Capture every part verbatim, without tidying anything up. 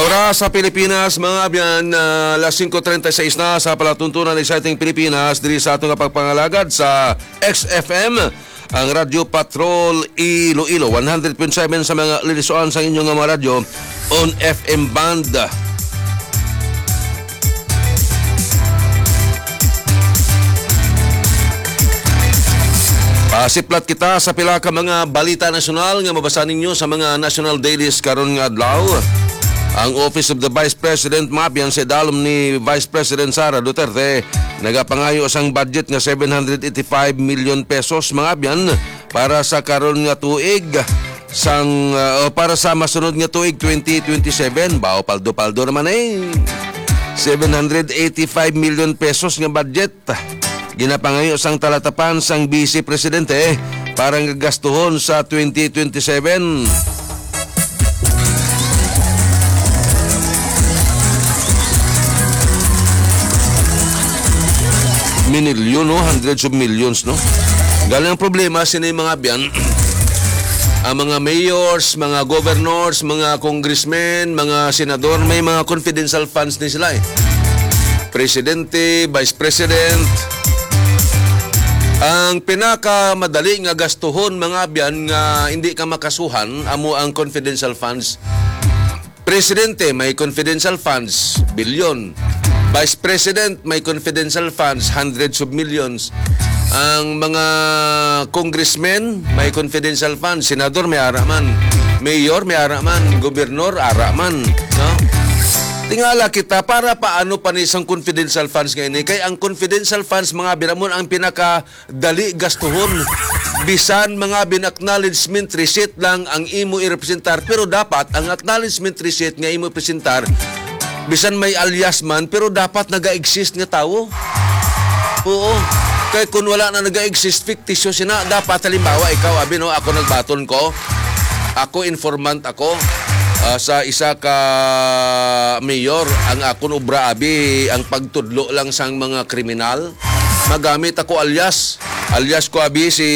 Oras sa Pilipinas, mga abyan, ah, alas singko treinta y seis na sa palatuntunan. Exciting Pilipinas, diri sa aton nga pagpangalagad sa X F M, ang Radyo Patrol Iloilo, one hundred point seven sa mga lilisuan sa inyong mga radyo on F M band. Pasiplat kita sa pila ka mga balita nasyonal nga mabasa ninyo sa mga national dailies karon nga adlaw. Ang Office of the Vice President, mga abyan, sa idalom ni Vice President Sara Duterte, nagapangayo sang budget nga seven hundred eighty-five million pesos, mga abyan, para sa karon nga tuig, sang, uh, o para sa masunod nga tuig, twenty twenty-seven. Bao, paldo-paldo naman, eh. Seven hundred eighty-five million pesos nga budget ginapangayo sang talatapan sang Vice Presidente para nga gastuhon sa twenty twenty-seven. Minilyon, no? Hundreds of millions, no? Galing ang problema, sini mga abyan, ang mga mayors, mga governors, mga congressmen, mga senador, may mga confidential funds ni sila, eh. Presidente, Vice President. Ang pinakamadali nga gastuhon, mga abyan, nga hindi ka makasuhan, amo ang confidential funds. Presidente may confidential funds, bilyon. Vice President may confidential funds, hundreds of millions. Ang mga congressmen may confidential funds, senador may ara man, mayor may ara man, gobernor ara man, no? Tingala kita, para paano pa ni sang confidential funds nga ini? Kay ang confidential funds, mga abyan, amo ang pinaka dali gastuhon. Bisan mga bin-acknowledgement receipt lang ang imo irepresentar, pero dapat ang acknowledgement receipt nga imo presentar, bisan may alias man, pero dapat naga-exist nga tawo. Oo. Kay kung wala na naga-exist, fictitious na. Dapat, halimbawa, ikaw, abi, no, ako nagbaton ko. Ako, informant ako, ah, sa isa ka mayor. Ang akon obra, abi, ang pagtudlo lang sang mga kriminal. Magamit ako alias. Alias ko, abi, si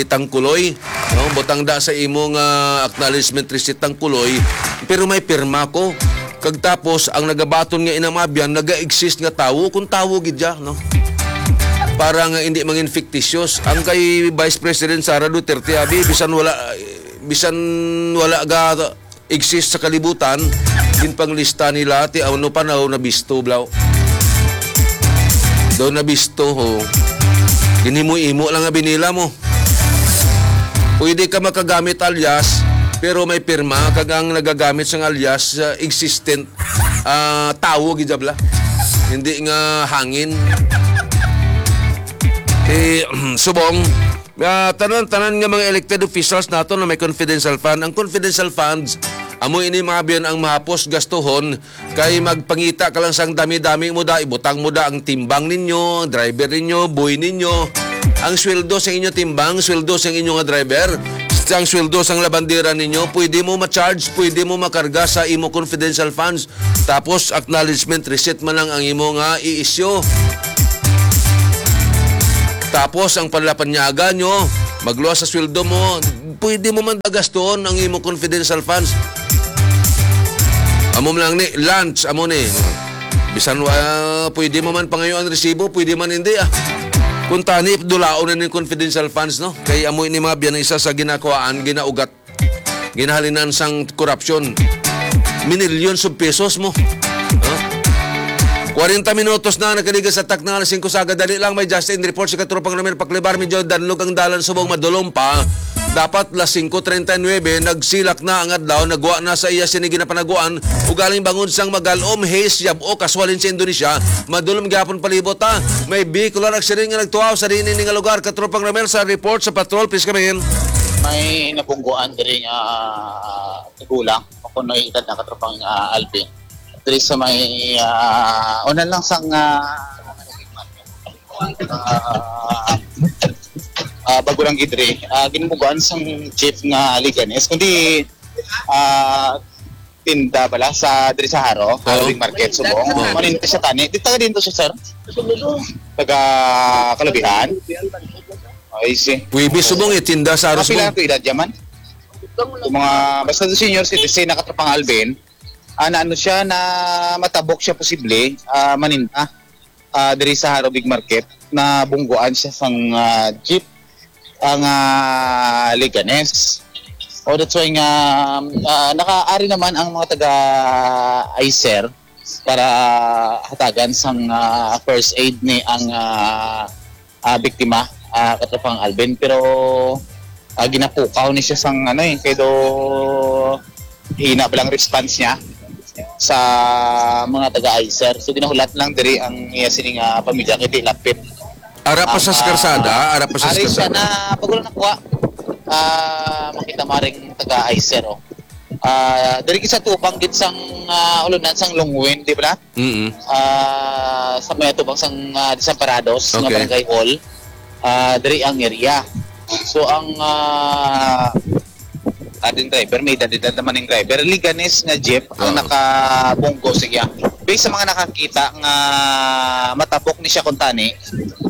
Tangkuloy. No? Butang da sa imo nga acknowledgement receipt, Tangkuloy. Pero may pirma ko. Kag tapos, ang nagabaton nga inamabyan, naga-exist nga tawo, kung tawo gid siya, no? Para nga hindi mangin fictitious. Ang kay Vice President Sara Duterte, abi, bisan wala, bisan wala ga exist sa kalibutan, ginpanglista nila, ti ano pa na nabisto, blaw. Daw nabisto, ho. Ginhimo-imo lang nga binila mo. Pwede ka makagamit alias, pero may pirma, kag ang nagagamit sang alias, ah, existent, ah, tawo, gid bala. Hindi nga hangin. Eh, subong, ah, tanan-tanan nga mga elected officials nato na may confidential fund. Ang confidential funds, amo ini, mga abyan, ang mahapos gastuhon, kay magpangita ka lang sang dami-dami mo da, ibutang mo da ang timbang ninyo, driver ninyo, boy ninyo, ang sweldo sa inyo timbang, sweldo sa inyo nga driver, ang sweldo sang labandera ninyo, pwede mo ma-charge, pwede mo makarga sa imo confidential funds. Tapos, acknowledgement receipt man lang ang imo nga i-issue. Tapos, ang panlapanyaga nyo, magluwas sa sweldo mo, pwede mo man dagastuhon ang imo confidential funds. Amo man lang ni, lunch, amo ni. Bisan, ah, pwede mo man pangayoan resibo, pwede man hindi, ah. Kung tani, dulaon na ning confidential funds, no? Kay amo ini, mga abyan, isa sa ginakuhaan, ginaugat, ginahalinan sang korupsyon. Minillions of pesos mo. Huh? Kwarenta minutos na nakaligas sa takna, alas singko sa aga. Dali lang, may Justin report si Katropang Romel Paklibar. Medyo danlog ang dalan subong, madulom pa. Dapat alas singko treinta y nuebe, nagsilak na ang adlaw, nagwa na sa iya sini ginapanaguan. Ugaling bangod sang magalom, haze, yab-o, kaswalin sa Indonesia, madulom gyapon palibot, ha. May vehicular accident nga nagtuaw sa diin ini nga lugar. Katropang Romel, sa report sa patrol, please come in. May nabungguan diri nga, ah, tigulang, makunoy edad na, Katropang, ah, Alvin. Diri sa may, ah, una lang sang, ah, ah, ah, Bagulang Gidri. Ah, ginbugaan sang jeep nga Leganés, kundi, ah, tinda bala sa diri sa Haro, Haro Oo. Big Market, Subong. Oo. Maninda siya tani. Di taga dito siya, sir? Taga Calabihan? I see. Huwebes, Subong, eh, tinda sa Haro, Kapila Subong. Ang edad niya man? Yung mga, basta senior citizen, nakatropang Alvin, ah, na ano siya, na matabok siya posible, ah, maninda, ah, diri sa Jaro Big Market, na bungguan siya sang, ah, jeep ang, ah, Leganes. O, that's why nga, ah, nakaari naman ang mga taga ICER para hatagan sang, ah, first aid ni ang, ah, ah, biktima, ah, katropang Alvin. Pero, ah, ginapukaw ni siya sang ano eh, kay do hina ba lang response niya sa mga taga-ICER. So, ginahulat lang diri ang iya sining, ah, pamilya kay di lapit. Ara pa sa Ang, ah, karsada, ara pa sa ari siya karsada. Na, pag wala nakuha, ah, makita maring taga-ICER, oh. Ah, diri sa tubang gid sang, ah, ulunan sang Longwin, di ba? Mm. Ah, sa may tubang sang, ah, Desamparados nga Okay. Barangay Hall, ah, diri ang area. So, ang, ah, ating driver, may edad-edad naman yung driver. Leganes nga jeep ang Oo. Nakabunggo siya. Based sa mga nakakita nga matabok ni siya kuntani,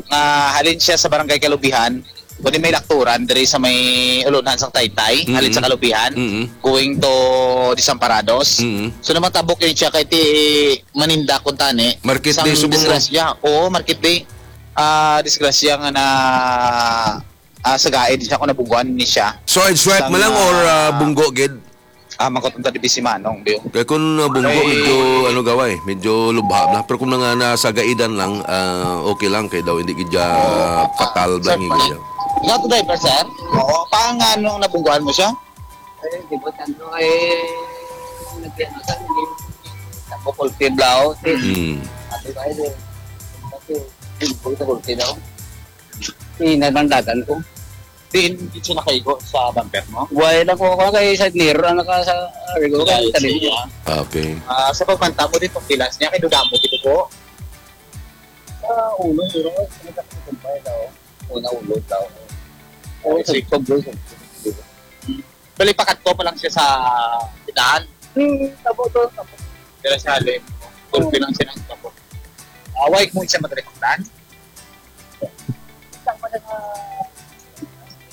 nga halin siya sa Barangay Kalubihan, kundi may lakturan diri sa may ulunan sang Taytay, Mm-mm. Halin sa Kalubihan, Mm-mm. Going to Desamparados. Mm-mm. So, namatabok yun siya kay ti maninda kuntani. Market Sang day subong mo. Disgrasya. Oo, market day. Ah, disgrasya nga na, ah, sa gaid siya kung nabungguan ni siya. So, side swipe Sang, man lang or, ah, ah, bunggo gid? Ah, mangkot unta di si Manong, Biyo. Kay kung, ah, bunggo, Ay. Medyo, ano, gaway, medyo lubha na. Pero kung mga nasa gaidan lang, ah, okay lang. Kay daw, hindi gid siya Oo. Fatal ba Sir, ni pala. Gid siya? Nga to driver, sir? Oo. Paano nga nung nabungguan mo siya? Ay, di ba, tanto, eh, nagkano sa, hindi, sa bukol tiblaw, si Mm. Ate Bayo, eh. Kasi, hindi ko sa bukol tiblaw. Ina ng dagan ko. Diin, di siya nakaigo sa bumper mo? Wala lang ko, ako kay side mirror, ang naka sa, ah, rigo, Dahil sa talim. Iya. Okay. Ah, sa pagmanta mo dito, pilas niya, kay dudamo dito po. Sa ulo, pero, sa kumpay daw. Una ulo daw. Oo, Ay, sa sige. Sobrang, sobrang. Bali, pakadto pa lang siya sa tindahan. Hmm, tabo to, tabo. Dira sa halin. Gulpi lang siya ng tabo. Ah, why mo siya madali pakdan? Isang pa siya sa,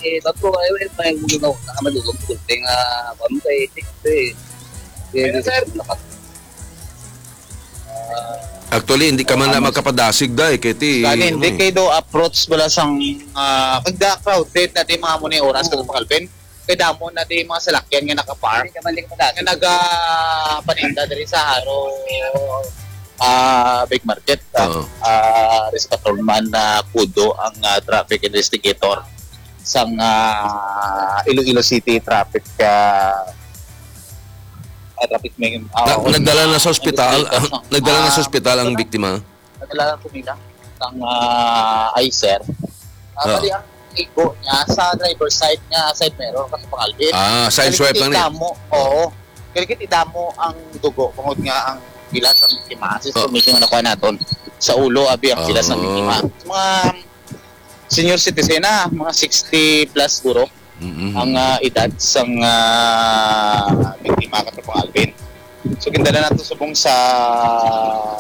eh, bago, ay, ay, may gulo na, nakamadulog, gulpi nga, kung kay, eh, eh, Pero, sir, lakas. Ah, Actually, hindi ka man na ano, makapadasig, day, kay ti, Gani, ano, hindi eh. Kay do approach bala sang, ah, kag da crowded na di mga mo ni oras Oo. Kag Alvin. Kay damo na di mga salakyan nga nakapark. Hindi ka man, hindi ka padasig. Nga naga, ah, paninda diri sa Jaro, ah, Big Market, ah, Oo. Ah, Res Patrolman na Kudo ang, ah, traffic investigator sang, ah, Iloilo City traffic, ah, ah, traffic may, ah, Na-, nagdala na sa ospital, investigator, no? Nagdala na sa Ah, ospital ang ano? Biktima? Nadala ko nila sang, ah, ICER. Ah, Ah. Bali ang igo niya sa driver side nga side mirror, kasi pangalbit. Ah, side swipe lang ni. Damo, oo. Kaya kiti damo ang dugo, bangod nga ang pila sa biktima. Sa Oh. Information na nakuha naton sa ulo, abi ang pila sa Oh. Biktima. Mga senior citizen na, mga sixty plus guro Mm-mm. Ang, ah, edad sang, ah, biktima, katropang Alvin. So, gindala nato subong sa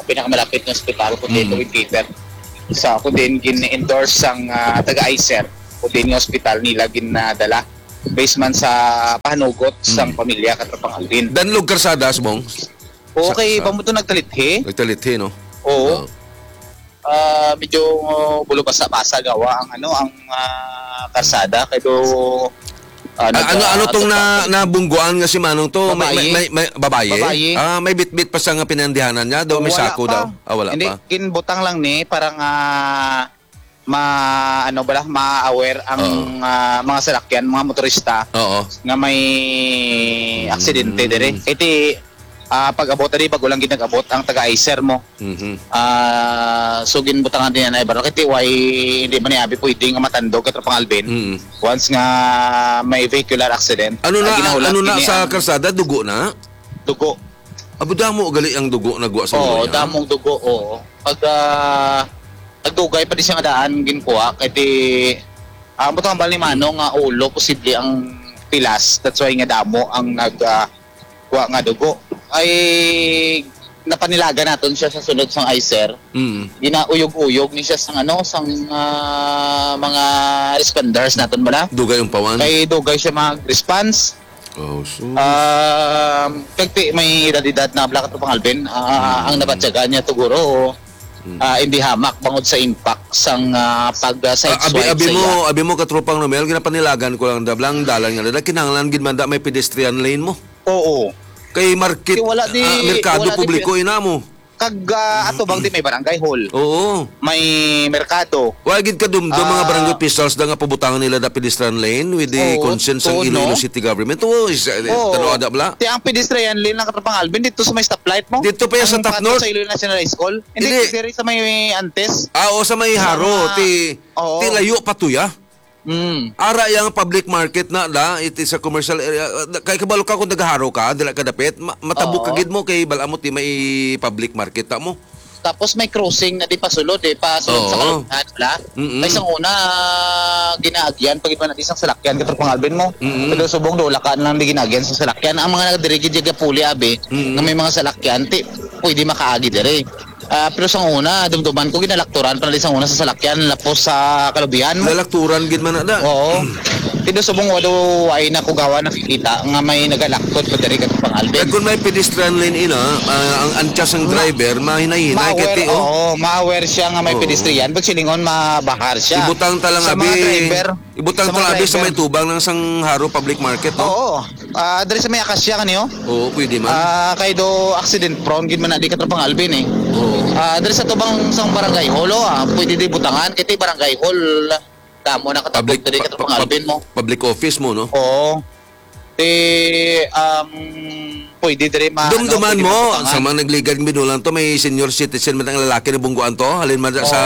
pinakamalapit nga ospital, kung diin Mm. Tawid Cater. Sa, kung diin gin-endorse sang, ah, taga-ICER, kung diin nga ospital nila ginadala. Based man sa pahanugot sang Mm. Pamilya, katropang Alvin. Danlog karsada, subong? Oo, Sa, kay sa pamuto nagtalithi. Nagtalithi, no? Oo. Oo. Ah, medyo bulo basa-basa gawa ang ano, ang, ah, karsada kay do, ah, Ah, ano, nag-, ano ah, tong na, nabungguan nga si Manong to? May, may, Babayi. May, may, babayi? Babayi. Ah, may bitbit pa sa nga pinandihanan niya? Daw may Wala sako pa. Daw? Ah, wala Hindi, pa. Ginbutang lang ni para nga ma-, ano ba, ma-aware ang, Oo. Ah, mga salakyan, mga motorista Oo. Nga may Mm. Aksidente dire. Iti, ah, pag-abot, adi, bago lang gid nag-abot ang taga-ICER mo. Mhm. Ah, so ginbutangan din yan ay barang kay T Y, hindi man ni abi pwede nga matandog, katropang Alvin. Mm. Once nga may vehicular accident, Ano ang na, ginahulat ano na ini sa ang karsada? Dugo na? Dugo. Abo, damo gali ang dugo nagwa sa Oo, ulo niya? Damong dugo, oo. Pag, ah, nagdugay pa di siya nga daan, ginkuha, kay di, ah, ang butang bal ni Mano nga ulo, posible ang pilas. That's why nga damo ang nag, ah, kuha nga dugo. Ay, napanilagan naton siya sa sulod sang ICER. Mm. Ginauyog-uyog ni siya sang ano, sang, ah, mga responders naton bala. Dugay ang pawan. Kay dugay siya mag-response. Oh, sus. Um, kag ti-, may edad-edad na bala, Katropang Alvin. Ah, ang nabatyagan niya siguro, ah, hindi hamak bangod sa impact sang, ah, pag, ah, side Ah, abi, swipe abi sa mo, iya. Abi mo, Katropang Romel, ginapanilagan ko lang, da, bala ang dalan nga, da, kinahanglan gid man da may pedestrian lane mo. Oo. Kay market, Kay wala di, ah, merkado wala di publiko, ina mo. Kag, ah, ato bang di may barangay hall? Oo. May merkado. Wa gid kadumdom mga Ah. barangay officials da nga pabutangan nila da pedestrian lane with the Oo, consent sang tuod, Iloilo no? City Government. Oo, is, eh, Oo. Tanaw ada bala. Ti ang pedestrian lane lang, Katropang Alvin, dito sa may stoplight mo? Dito pa yan sa Ang Top pato North? Sa Iloilo National High School? Hindi, Hindi. Diri sa may Antes. Ah, oo, sa may Sa Haro, mga ti, Oo. Ti layo pa to ya. Mm. Ara yang public market na da, it is a commercial area. Uh, kay kabalo ka kung nagaharo ka, dila ka dapit, ma- matabok ka Oo. Gid mo kay bala mo ti may public market ta mo. Tapos may crossing na di pasulod eh, pasulod sa Oo. Kalubihan, wala? Mm-mm. Kay sang una, ginaagyan, pag iba na isang salakyan, Katropang Alvin mo. Mm-mm. Pero subong do, wala ka lang di ginaagyan sa salakyan. Ang mga nagdirigid yung gapuli, abi, Mm-mm. Nga may mga salakyan, ti, pwede makaagi diri. Ah, pero sang una, dumduman ko, ginalakturan pa na di sang una sa salakyan, lapos sa kalubihan mo. Lalakturan gid man na da. Oo. Pero subong wa daw, ay na ko gawa nakikita nga may nagalaktot pa diri, Katropang Alvin. Kag kung may pedestrian lane ina, ah, ang ankas ang Ma-, driver, mahinay-hinay ma-aware, kay ti, oh. Oo, ma-aware siya nga may Oo. Pedestrian. Pag silingon, mabahar siya. Ibutang ta lang, Sa mga abi, driver, ibutang sa ta mga lang, abi, sa driver. May tubang ng sang Haro Public Market, no? Oo. Ah, diri sa may Acacia kaniyo? Oo, pwede man. Ah, kay do accident prone gid man na di, Katropang Alvin, eh. Oo. Ah, diri sa tubang sang barangay hall, oh, ah, pwede di butangan kay ti barangay hall. Kamo na katabog Public, diri, pa-, Katropang pa-, Alvin mo. Public office mo, no? Oo. Ti, um, pwede diri ma-, Dumduman ano, pwede mo, mabutangan. Sa mga nagligad ng binulan to, may senior citizen man ang lalaki na bungguan to, halin man sa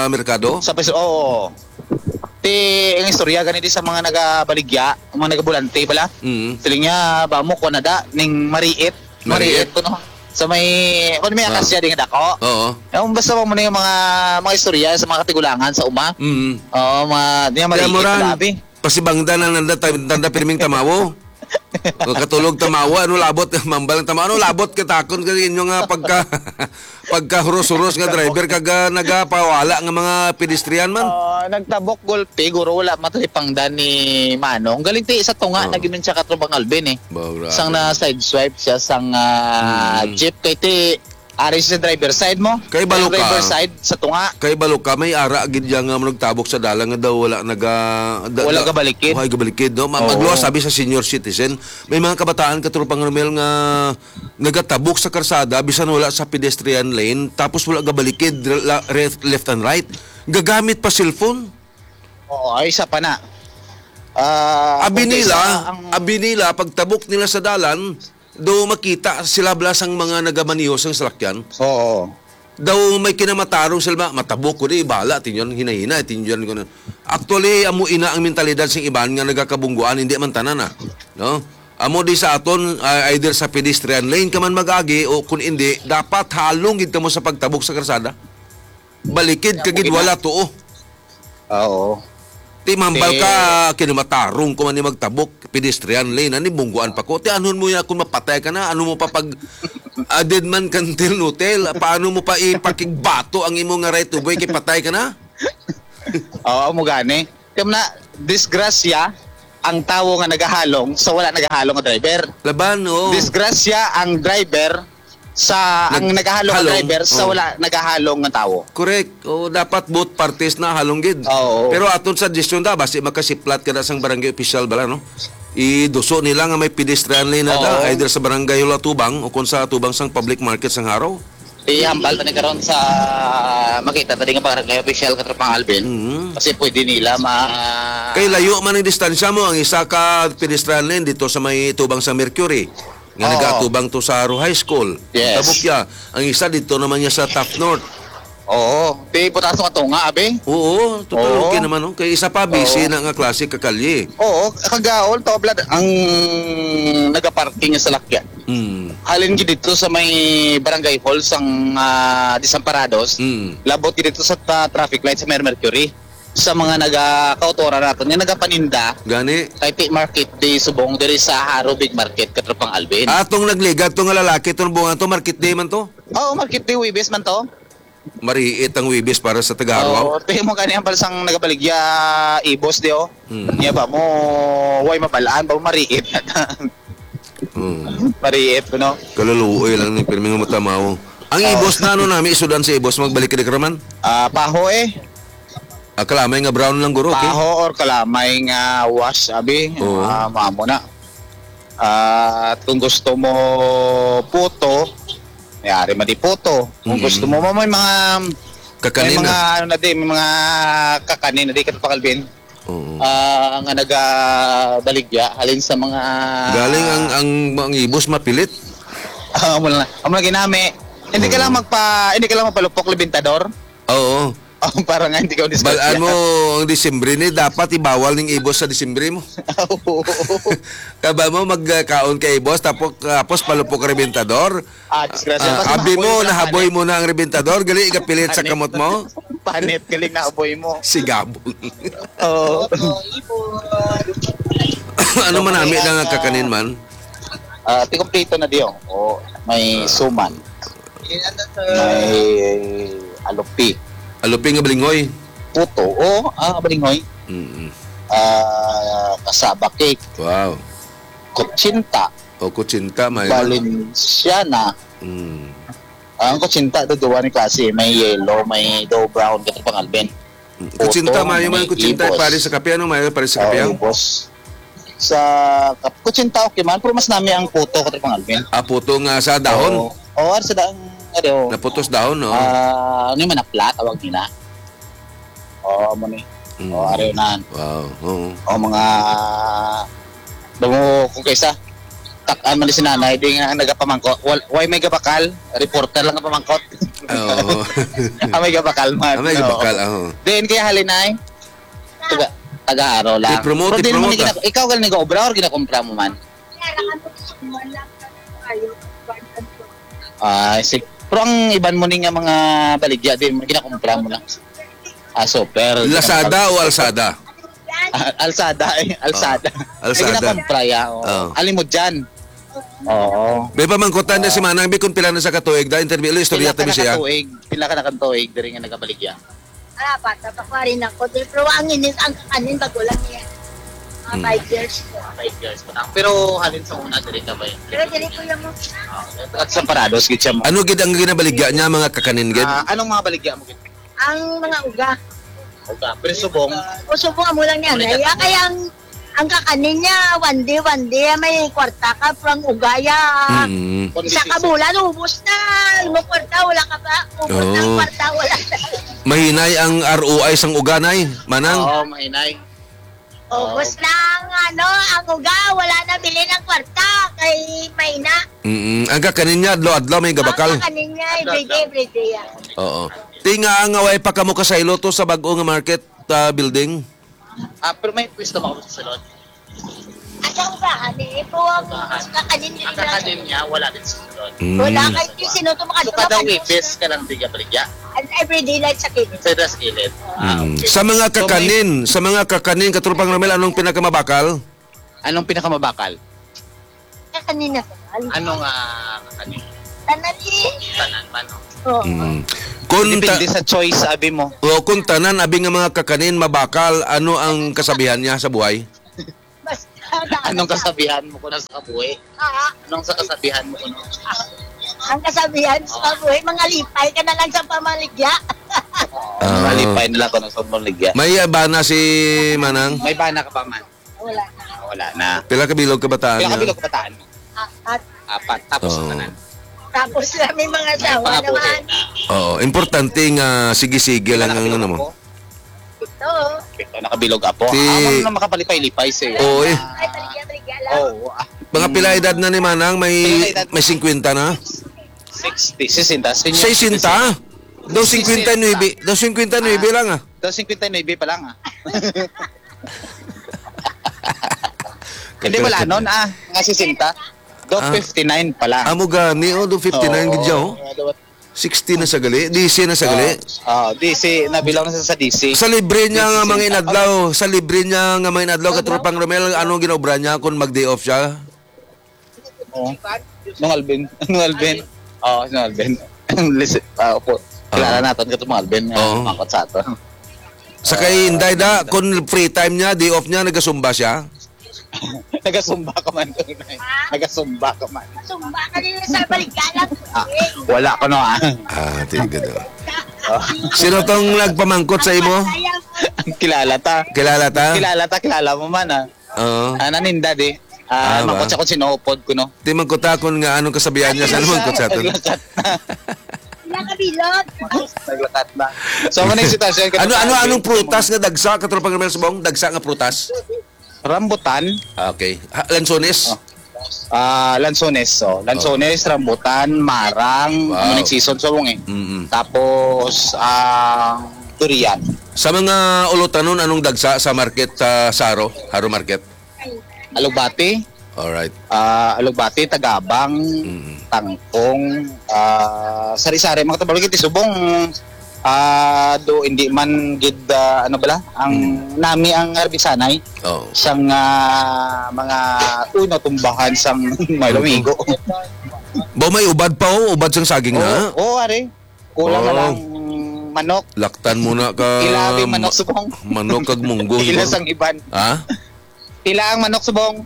Oo. Merkado? Sa pres-, oo. Ti, ang istorya gani di sa mga nagabaligya, ang mga nagabulante pala. Mm. Siling niya, ba mo, kuha na da, ning mariit. Mariit. Mariit ko, no? Sa may, kung may Ah. Akasya di nga dako. Oo. Yung basta mo na yung mga, mga istorya sa mga katigulangan sa uma. Mm. Oo, mga, di nga Kaya mariit mo ran, na labi. Pasibangda na nanda, ta-, nanda pirming tamawo. O katulog tamawo, ano labot, mambal ang tamawo, ano labot katakon ka inyo nga pagka, pagka huros-huros nga driver, kag, ah, nagapawala nga mga pedestrian man? Ah, nagtabok gulpi, guro, wala matulipangdan ni Manong. Galing ti sa tunga, Oo. Nag-inun siya, Katropang Alvin, eh. Ba, grabe. Sang na sideswipe siya, sang, ah, Mm. jeep, kay ti, ari sa driver side mo. Kay balo Sa driver ka. Side, sa tunga. Kay balo ka, may ara gid yang, ah, nagtabok sa dalan nga daw wala naga-, da-, Wala da-, gabalikid. Wala gabalikid, no? Ma-, Oo. Magluwas, sabi sa senior citizen, may mga kabataan, Katropang Romel, nga nagatabok sa karsada, bisan wala sa pedestrian lane, tapos wala gabalikid, la-, re-, left and right. Gagamit pa cellphone. Oo, ay, isa pa na. Ah, Abi kung nila, isa ang abi nila, pagtabok nila sa dalan, do makita sila bala sang mga nagamaniho sang salakyan. Oo. Daw may kinamatarong sila ba, matabok ko di, bala, tinyon, hinay-hinay, tinyon ko na. Actually, amo ina ang mentalidad sing iban nga nagakabungguan, hindi man tanan, ah. No? Amo di sa aton, ah, either sa pedestrian lane ka man mag-agi o kung hindi, dapat halong gid kamo sa pagtabok sa karsada. Balikid Kaya ka gid, mo gina- wala tuo. Ah, oo. Ti mambal Ti- ka, kinamatarong ko man ni magtabok, pedestrian lane, ani bungguan pa ko. Ti anon mo yan kung mapatay ka na, ano mo pa pag, ah, dead man ka until no tell, paano mo pa ipakigbato ang imo nga right of way kay patay ka na? Oo, mo gani. Kaya na, disgrasya ang tawo nga nagahalong sa wala nagahalong nga driver. Laban, oo. Disgrasya ang driver sa, ang Nag-, nagahalong nga halong, driver sa oo. Wala nagahalong nga tawo. Correct. O, dapat both parties na halong gid. Oo. Pero aton suggestion da, basi makasiplat ka na sang barangay official bala, no? Iduso nila nga may pedestrian lane na da, Oo. Either sa barangay Hulatubang o kung sa tubang sang public market sang Haro. Ihambal ta ni karon sa makita ta di nga barangay official, Katropang Alvin. Mhm. Kasi pwede nila ma- Kay layo man ang distansya mo, ang isa ka pedestrian lane dito sa may tubang sa Mercury. Nga Oo. Nagaatubang to sa Haro High School. Yes. Tabukya. Ang isa dito naman niya sa Top North. Oo. Di putaso nga tunga, abi? Oo, total Oo. Okay naman, no? Kay isa pa, busy Oo. Na nga klase ka kalye. Oo, kagaol to, Vlad, ang nagaparking sa lakyan. Mm. Halin gid dito sa may barangay hall sang, ah, Desamparados. Mm. Labot gid dito sa ta-, traffic light sa Mer-, Mercury. Sa mga naga-, kautora naton nga nagapaninda Gani. Kay ti market day subong diri sa Haro Big Market, Katropang Alvin. Atong nagligad to nga lalaki, tong bunga to, market day man to? Oo, market day, Webes man to. Mariit ang Huwebes para sa taga-Arua. Oo, pero mo kani ang balsang nagabaligya, Ibos, di, oh. Mm. Niya ba mo, way mabalaan ba, mariit na ta. Mm. Mariit, no? Kaluluoy lang ni, pirmi nga matamaw. Ang Oo. Ibos na, ano nami, isudan sa Ibos, magbalik ka di ka raman? Ah, paho, eh. Ah, kalamay nga brown lang, guro, okay? Paho or kalamay nga wash, abi. Oo. Ah, mamo na. At kung gusto mo puto, may ari man di puto. Kung Mm. gusto mo, may mga, may Kakanin mga, na. ano na di, may mga kakanin na di, Katropa Calvin. Oo. Ah, nga nagabaligya, halin sa mga Galing ang, ang, ang Ibos mapilit. Ah, amo na. Amo na ginami. Hindi ka Oo. lang magpa-, hindi ka lang magpalupok, Libintador. Oo. Oh, para nga hindi ka Balaan mo disgrasya. Ang Disyembre ni, dapat ibawal ning Ibos sa Disyembre mo. Oo. Kaba mo magkaon ka Ibos, tapos, tapos palupok ka Rebentador. Ah, disgrasya. Ah, Mas abi mahaboy mo, mo na nahaboy kanin. Mo na ang Rebentador, gali, ikapilit sa Panit. Kamot mo. Panit, galing nahaboy mo. Sigabon. Oo. Ano man nami na nga kakanin man? Ah, ti kompleto na diyo. O, may Ah. suman. May alupi. Alupi nga balingoy? Puto. O, ah, balingoy. Mm-mm. Ah, cassava cake. Wow. Kutsinta. O, kutsinta, may Valenciana. Mm. Ang kutsinta, do, duwa ni klase. May yellow, may do brown, Katropa Calvin. Mm. Kutsinta, Puto, mayo man may kutsinta, ibos. Pare sa kape. Ano mayo, pare sa kape, Oh, ang? Ibos. Sa kap-, kutsinta, okay man, pero mas nami ang puto, Katropa Calvin. Ah, puto nga sa dahon? Oo. Oo, ari sa dahon, ano, Naputos dahon, no? Ah, ano yung manapla, tawag nila? Oo, amo ni. Mm. Oo, ari na. Wow, oo. O, mga, damo, kung kaysa, tak-an man ni si nanay, di nga nagapamangko. Wal-, way may gabakal, reporter lang ang pamangkot. Oo. Ah, may gabakal man. Ah, may Oo. gabakal, oo. Then, kaya halinay, taga, taga-aro lang. I-promote, Pero di naman i-promote, ni gina-, ah. Ikaw galing nag-obra or ginakumpra mo man? Ah, si-, pero ang iban mo ni nga mga baligya, di mo ginakumpra mo lang. Ah, super. Lazada o Alsada? Ah, Alsada, eh. Alsada. Ah, Alsada. Ay, ginakumpra, ya, oo. Ah. Alam mo dyan. Oo. May pamangkutan na si Ah. Manang Bi kung pila na sa katuig da, interview, istorya Pila ka tabi siya. Nakatuig? Pila ka nakatuig, diri nga nagabaligya? Ah, bata pa ko rin ako. Di, pero ang inis, ang kakanin, bago lang niya. Mga Hmm. five years ko. Five years pa lang. Pero halin sa una, diri ka ba yun? Pero diri ko yung Ah, at sa Parados, gid siya mo. Ano gid ang ginabaligya niya, mga kakanin gid? Ah, anong mga baligya mo gid? Ang mga uga. Uga. Pero subong? O, subong, amo lang niya. Wala Ay, ka ah, kaya ang, ang kakanin niya, one day, one day, may kwarta ka, pero ang uga, ya. Mm. Isa ka bulan, ubos na. Mo kwarta, wala ka pa. Ubos na ang Oo. Kwarta, wala na. Mahinay ang R O I sang uga, Nay, Manang? Oo, mahinay. Ubos Oo. na ang, ano, ang uga, wala na bilin ang kwarta, kay may na. Mm-mm. Ang kakanin niya, adlaw-adlaw may gabakal? Ang kakanin niya, everyday, Adlaw-adlaw. everyday, ah. Oo. Tinga nga way pa kamo kasaylo to sa bag-o nga market, ah, building? Ah, pero may pwesto ba kamo sa sulod? Asa ang ugahan, eh? Ito ang Ugahan. Kakanin din Ang na. Kakanin niya, wala din sa sulod. Mm. Wala kay sino to So, makadto kada makadto. Webes ka lang tiga baligya? An everyday life sa kilid. Sa das kilid. Ah, Mm. okay. Sa mga So, may kakanin, sa mga kakanin, Katropang Romel, anong pinakamabakal? Anong pinakamabakal? Kakanin na. Anong, ah, kakanin? Tanan, eh. Tanan man, no? Oo. Mm. Kung ta- Depende sa choice, abi mo. O, kung tanan, abi nga mga kakanin, mabakal, ano ang kasabihan niya sa buhay? Basta, Anong kasabihan mo ko na sa kabuhi? Ah. Anong sa kasabihan mo ko, no? Ang kasabihan sa kabuhi, mga lipay ka na lang sa pamaligya. Oo, Ah. malipay na lang ko na sa pamaligya. May, ah, bana si Manang? May bana ka pa man? Wala na. Ah, wala na. Pila ka bilog kabataan Pila ka niya? Bilog kabataan mo? Ah, at Apat. Tapos Oo. ang tanan? Tapos na may mga May asawa pangabuhi naman. na. Oo, importante nga sige-sige Pila lang ang nakabilog ano mo. Ako? Ito. Ito, nakabilog apo. Ti- Ah, amo na makapalipay-lipay siya. Oo, eh. Ay, baligya, baligya lang. Oo, ah. Mga pila edad na ni Manang? May, Pila edad may na? Singkwenta na? Sixty, sesenta, senior Sesenta? citizen. Daw singkwenta y nuebe, daw singkwenta y nuebe Ah. lang, ah. Daw singkwenta y nuebe pa lang, ah. Hindi, wala nun, ah, nga sesenta. Daw Ah. fifty-nine pa lang. Amo gani, oh, daw fifty-nine Oo, gid siya, oh. Sixty na sa gali, D C na sa gali. Ah, ah, D C, nabilang na sa, sa D C. Sa libre niya nga D C mga inadlaw, sa libre niya nga mga inadlaw, Ano? Katropang Romel, anong ginaobra niya kung mag-day off siya? Oh. Nung Alvin, nung Alvin. Oh, nung Alvin. Listen, ah, opo. Kilala Oo. naton kato, mga Alvin, nga Oo. mangkot sa aton. Sa kay Inday da, kung free time niya, day off niya, nagasumba siya? Nagasumba ka man, Inday. Nagasumba ka man. Sumba ka nila sa Baligalan. Ah, wala ko, no, ah. Ah, tingnan, oh. Oh. Sino tong nagpamangkot sa imo? Kilala ta. Kilala ta? Kilala ta, kilala mo man, ah. Oo. Ah, naninda, di. Ah, Ah, ba? Mangkot siya kung sino upod ko, no? Di man ko takon nga anong kasabihan niya sa Ay, naman ko sa aton. Naglakat. Nakabilog. Naglakat na. So, ano yung sitwasyon? Ano, ano, anong prutas nga dagsa, Katropang Romel Subong? Dagsa nga prutas? Rambutan. Okay. Ha, lansones? Oh. Ah, lansones, oh. Lansones, rambutan, marang, Wow. ano yung season sa mong eh. Mm-mm. Tapos, ah, durian. Sa mga ulotanon, anong dagsa sa market, ah, sa Haro? Haro Market? Alugbati. Alright. Ah, alugbati, tagabang, Mm. tangkong, ah, sari-sari, mga tabalo kiti subong, ah, do hindi man gid, ah, ano bala, ang Mm. nami ang harbisanay Oo. sang, ah, mga uno tumbahan sang may Oo. lumigo. Ba may ubad pa, oh, ubad sang saging na? Oo, oo, are. Kulang na Oh. lang manok. Laktan mo na ka Ilabi manok ma-, subong. manok kag munggo, Ila subong. sang iban. Ha? Ila ang manok subong.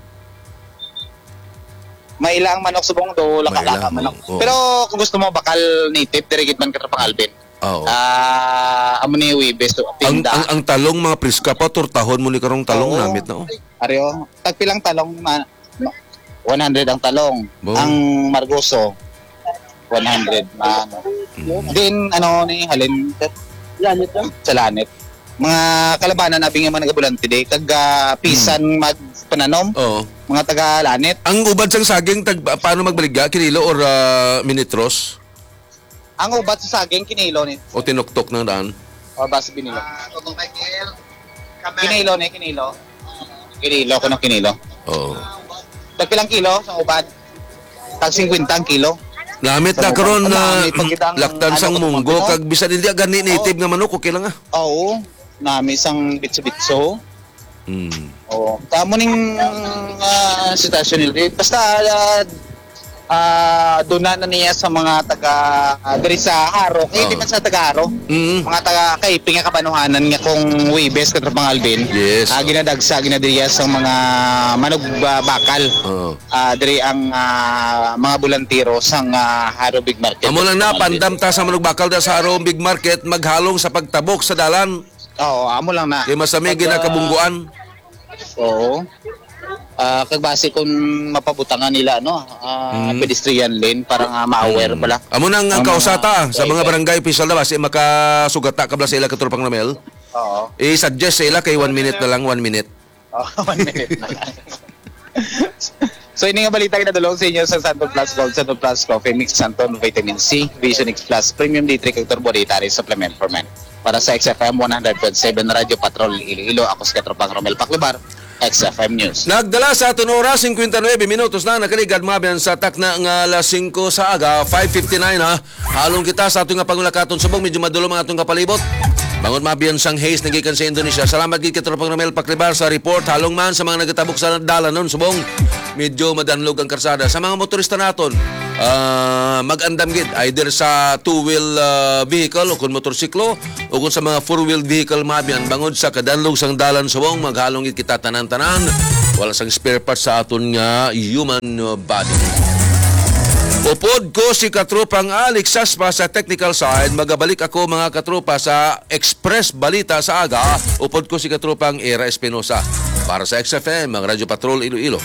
Maila ang manok subong do Maila, laka-laka manok. Oo. Pero kung gusto mo bakal native, diri gid man Katropang Alvin. Oo. Ah, amo ni Webes, so, Ang, tinda. ang, ang talong, mga priska pa, tortahon mo ni karong talong, Oo. namit na, oh. Areo, tagpilang talong ma-, ma-, one hundred ang talong. Bo. Ang margoso, one hundred na, ano. Mm. Then, ano ni, halin, Lanit lang. Sa lanit. Mga kalabanan, abi nga mga nagabulante, di, kag, ah, pisan Mm. magpananom, Oo. mga taga lanit. Ang ubad sang saging, tag-, paano magbaligya? Kinilo or, ah, minitros? Ang ubat sa saging, kinilo ni. O tinuktok na daan? O, basi binilo. Ah, Toto Michael, Kamer. Kinilo ni, kinilo. Kinilo, kuno kinilo. Oo. Tagpilang kilo sa ubat? Tag singkwenta ang kilo. Namit Sa na karon ubat, na nami pagkita ang laktan sang ano, munggo, kuno. Kag bisan hindi gani native Oo. nga manok, okay lang, ah. Oo. Nami sang bitso-bitso. Mm. Oo. Kamo ning, ah, sitwasyon nila. Basta, ah, ah, duna na niya sa mga taga, ah, diri sa Haro. Eh, di Oo. man sa taga Haro. Mm. Mga taga Kaypi nga kabanuhanan nga kung Webes, Katropang Alvin, Yes, ah, oo. ginadagsa, ginadiriya sa mga manugbakal. Oo. Ah, diri ang, ah, mga bulantero sang, ah, Haro Big Market, Amo lang na, Katropang Alvin. Pandam ta sa manugbakal da sa Haro Big Market, maghalong sa pagtabok sa dalan. Oo, amo lang na. Kay masami Pag, ah, ginakabungguan. Oo. Ah, kag basi kung mapabutangan nila, no, ah, Mm. pedestrian lane para nga ma-aware Mm. pala Amo nang ang ang mga kausata sa mga vehicle. Barangay official na basi makasugata ka bala sa ila, Katropang Romel. Oo. I-suggest sa ila kay one minute na lang, one minute. Oh, one minute na lang. So, ini nga balita ginadulong sa inyo sa Santon Plus Gold, Santon Plus Coffee Mix, Santon Vitamin C, Vision X Plus, Premium D three, kag Turbo D three Supplement for Men. Para sa X F M one hundred point seven Radyo Patrol Iloilo, ako si Katropang Romel Paclubar, X F M News. Nagdala sa aton oras, singkwenta y nuebe minutos na nakaligad, mga abyan, sa takna nga alas singko sa aga, five fifty-nine, ha. Halong kita sa aton nga pangulakaton subong, medyo madulom ang aton kapalibot. Bangod mabiyan sang haze nagikan sa Indonesia. Salamat gid kay Tropang Romel Paclibar sa report. Halong man sa mga nagatabok sa dalanon subong, medyo madanlog ang karsada. Sa mga motorista naton, ah, mag-andam gid either sa two-wheel, ah, vehicle o kung motorsiklo o kung sa mga four-wheel vehicle, mabiyan, bangod sa kadanlog sang dalan subong, maghalong gid kita tanan-tanan. Wala sang spare parts sa aton nga human body. Upod ko si Katropang Alex Saspa sa technical side. Magabalik ako, mga katropa, sa Express Balita sa Aga. Upod ko si Katropang Era Espinosa. Para sa X F M, ang Radyo Patrol Iloilo.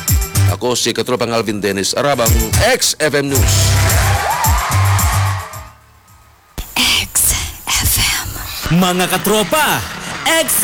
Ako si Katropang Alvin Dennis Arabang, X F M News. X F M. Mga katropa, X